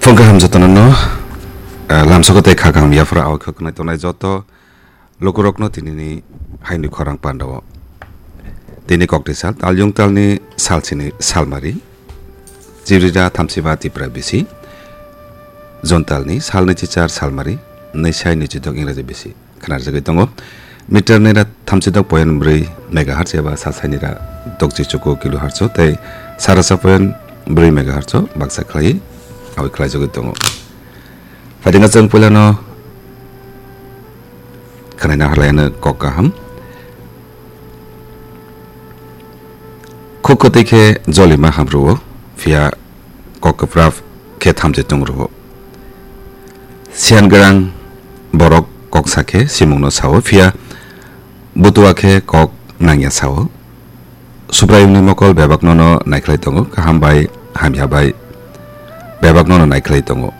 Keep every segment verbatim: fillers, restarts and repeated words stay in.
Phung kaham jotono no, eh, lamsogo tei kha kaham yaphra awai kha khwnai tongnai joto lukurokno tinini haini khorang pandao. Tini kokti sal, talyung talni salsini salmari, Jibrida thamsiba Tipra bisi, June talni salni chichar salmari, nai sai ni chidok Ingraji bisi. Khnarjagwi tongo. Meter naira thamsidok point brwi megahertz eba sa sainira dokchi chuku kilohertz tei sarasa point brwi megahertz baksa khlai awi khlaijagwi tongo. Phaidinga chwng puilano khnaina harlaiano kok kaham. Khuk kwtwi khe jolima hamrwo, phiya kok kwpra khe thamchi tung rwo. Siyan gwnang borok kok sa khe simungno sao, phiya butua khe kok nangya sao. Subraiyungni mokol bebakno no naikhlai tongo, kaham bai hamya bai bebakno no naikhlai tongo.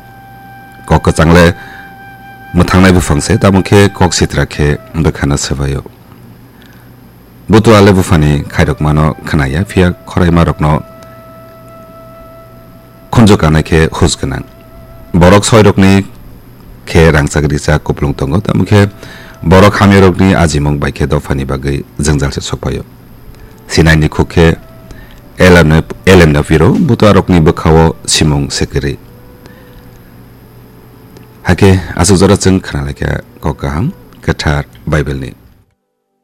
Kok kwchangle mwthangnai buphang se, tamo khe kok sitra khe bwkhano swbaio. Butua le buphani khairokmano khnaya, phiya khoraimarokno khunju kanai khe hus gwnang. Borok soirokni khe rangchak rijak kuplung tongo, tamo khe borok hamyarokni ajimung bai khe dophani bagwi jwngjal se sokphaio. Sinaini khuk khe L M N F, L M N F iro butuarokni bwkhao simung sekeri. Hakhe aswk jora chwng khna lai kha kok kaham kwthar Bible ni.